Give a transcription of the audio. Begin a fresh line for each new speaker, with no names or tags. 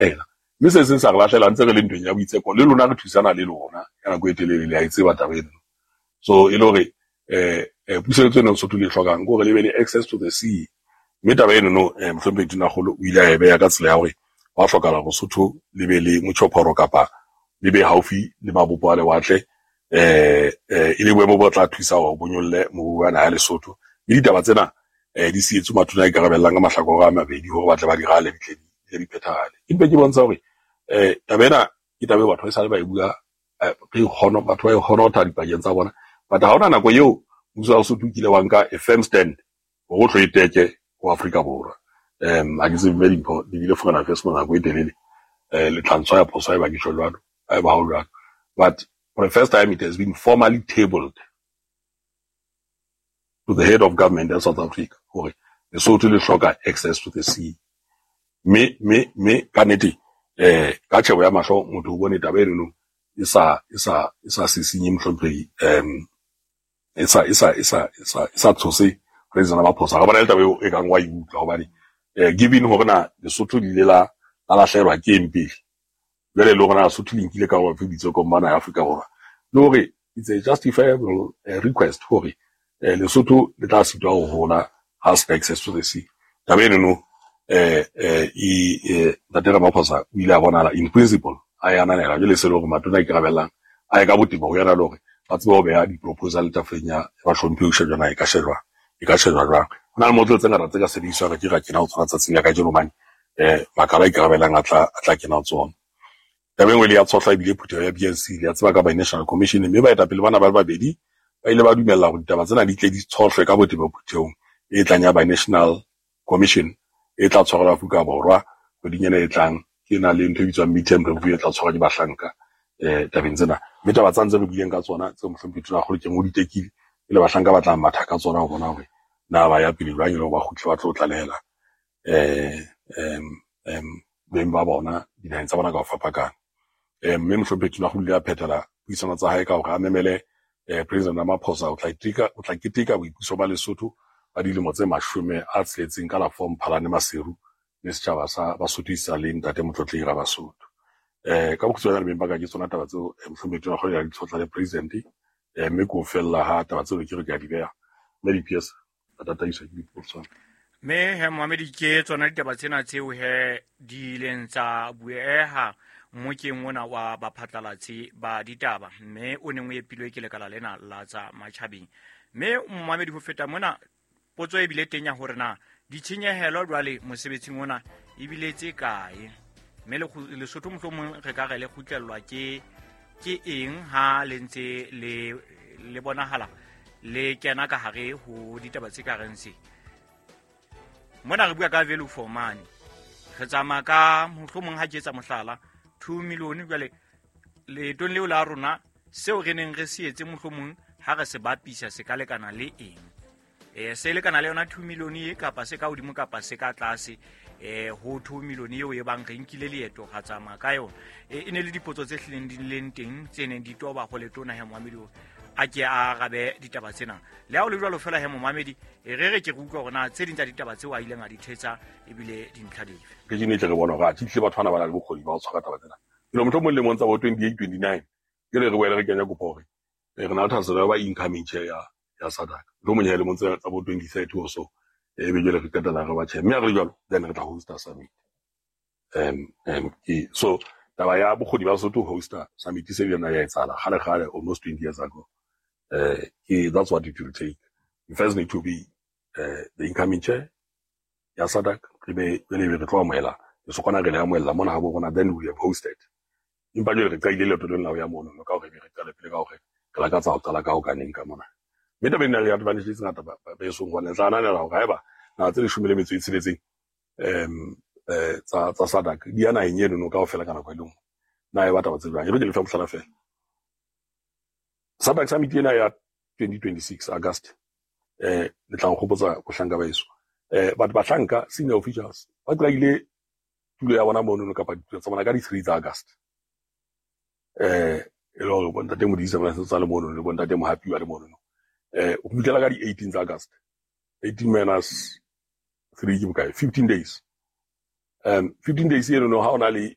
Mme se seng sa re lahlela ntse re le ntweng ya boitseko le lona, re thusana le lona ka nako e telele, le a e tseba taba eno. So e le hore puseletso eno Lesotho le e hlokang ke hore le be le access to the sea. Mme taba eno no, mohlomphehi Tonakgolo o ile a e beha ka tsela ya hore hwa hlokahala hore Lesotho le be le motjhophoro kapa le be haufi le mabopo a lewatle, e le boemo bo tla thusa hore bo nyolle moruo wa naha ya Lesotho. Mme ditaba tsena di sietswe matona a ikarabellang ka mahlakore a mabedi hore ba tle ba di rale, di tle di phethahale. Empa ke bontsha hore taba ena ke taba eo batho ba esale ba e bua, re kgono batho ba e honotha dipakeng tsa bona, but ha hona nako eo mmuso wa Lesotho o kile wa nka a firm stand hore o tlo e teke ho Afrika Borwa. Ha ke tsebe, mme Dimpho di bile Foreign Affairs mo nako e telele, le tla ntshwaya phoso haeba ke tjho jwalo, haeba ha ho jwalo. But for the first time it has been formally tabled to the head of government ya South Africa hore Lesotho le hloka access to the sea. Mme ka nnete, ka tjhebo ya mahlo motho o bone taba eno e sa sisinye mohlomphehi, e sa tshose President Ramaphosa. Re bona le taba eo e kang wa e utlwa, hobane given hore na Lesotho le ile la lahlehelwa ke eng pele, jwale le hore na Lesotho le nkile karolo efe boitsekong ba naha ya Afrika Borwa, le hore it's a justifiable request hore Lesotho le tla sitwa ho hola ha se access to the sea. Taba eno no, Ntate Ramaphosa o ile a bonahala in principle a e ananela. Jwale se le hore matona a ikarabellang a ye ka botebo ho yena, le hore ba tsebe ho beha di-proposal tafoleng ya bahlomphehi ho shejwa na e ka shejwa jwang. Ho na le motlolo tse ngata tse ka sebediswang, re ke ra kena ho tsona tsatsing la kajeno, hobane makala a ikarabellang a tla kena ho tsona. Taba e nngwe le ya tshohla ebile phutheho ya BNC, le ya tseba ka Binational Commission, mme baetapele bana ba le babedi ba ile ba dumella hore ditaba tsena di tle di tshohlwe ka botebo phuthehong e tlang ya Binational Commission e tla tshwarelwa Afrika Borwa kgweding ena e tlang. Ke na le ntho e bitswang midterm review e tla tshwarwa ke bahlanka tabeng tsena. Mme taba tsa ntse re buileng ka tsona tseo mohlomphehi Tonakgolo ke o di tekile, e le bahlanka ba tla matha ka tsona ho bona hore na ba ya pele jwang, e le hore ba kgutle ba tlo tlalehela beng ba bona dinaheng tsa bona ka ho fapakana. Mme mohlomphehi Tonakgolo o ile a phethela puisano tsa hae ka hore a memele President Ramaphosa o tla keteka boipuso ba Lesotho ba dilemo tse 60 ka la 4 Mphalane Maseru le setjhaba sa Basotho isa le ntate Motlotlehi Rabasotho. Ka bokgutshwanyane, beng ba ka, ke tsona taba tseo mohlomphehi Tonakgolo ya di tshotla le president, mme ke ho fella ha taba tseo ke re ke a di beha, mme di-PS a tataiswa ke dipotso.
Mme he moamedi, ke tsona ditaba tsena tseo he di ileng tsa bueha mmokeng ona wa baphatlalatsi ba ditaba, mme o neng o epilwe ke lekala lena la tsa matjhabeng. Mme moamedi, ho feta mona, potso e bile teng ya hore na ditshenyehelo jwale mosebetsing ona ebile tse kae, mme Lesotho mohlomong re ka re le kgutlellwa ke eng ha le ntse le bonahala le kena ka hare ho ditaba tse ka reng se mona. Re bua ka value for money, re tsamaya ka mohlomong, ha ke etsa mohlala, 2 million. Jwale leetong leo la rona, seo re neng re se etse, mohlomong ha re se bapisa, se ka lekana le eng? Se lekana le yona 2 million e, kapa se ka hodimo, kapa se ka tlase ho 2 million eo e bang re nkile leeto ga tsamaya ka yona? E ne le dipotso tse hlileng di leng teng tse neng di toba go letona he moamedi a ke a arabe ditaba tsena. Le ha o le jwalo fela he momamedi, e re re ke re utlwa hore na tse ding tsa ditaba tseo a ileng a di thetsa ebile dintlha dife.
Ke ne tle re bona hore athe tlile batho bana ba na le bokgoni ba ho tshwara taba tsena. Jalo mohlomong lemong tsa bo 28 29 jale re boele re kenya kopo hore re na le thahasello ya ba incoming chair ya SADC, mohlomong ya lemong tsa bo 2030 or so, e be jwale re qetella re ba chair. Mme ha re le jwalo, then re tla hosta summit. So taba ya bokgoni ba Lesotho hosta summit se ile ya etsahala kgale kgale, almost 20 years ago. Ke that's what it will take. We first need to be the incoming chair ya SADC, re be jwale be re tlo amohela lesokwana, re le amohella mona ha bo rona, then we have hosted. Empa jwale re qadile leeto lena la ho ya mono ka hore be re qale pele ka hore re lakatsa ho qala ka ho kaneng ka mona. Mme taba ena le advantage tse ngata besong, hobane tla ananela hore haeba naha tse 16 tsa SADC di ya naheng eno no kaofela ka nako e le nngwe, na e ba taba tse jwang? E re ke le fe mohlala fela. SADC summit ena ya 2026 August, le tla nkgopotsa bohlanka ba eso, but bahlanka, senior officials, ba qadile tulo ya bona mono kapa ditulo tsa bona ka di-3 tsa August, e le hore bontate Modise ba tsa le mono le bontate Mohapi ba le mono, ho fihlela ka di-18 tsa August. 18 minus 3 ke bokae? 15 days. 15 days eno no ha ona le